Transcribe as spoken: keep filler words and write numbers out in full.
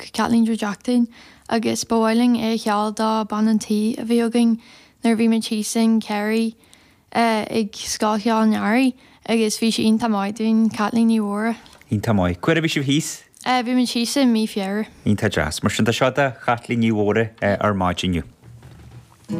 thug Caitlín Joe Jack dúinn agus ba mhaith linn é a cheol do bean an tí a bhí againn nuair a bhí muid thíos in Kerry uh, ag Scoil Cheoil an Earraigh agus bhí sí iontach maith dúinn Caitlín Ní Mhóra. Iontach maith. Cá huair a bhí sibh thíos? Uh, bhí muid thíos i mí Feabhra. Iontach deas. Mar sin tá seo do Chaitlín Ní Mhóra ar maidin inniu.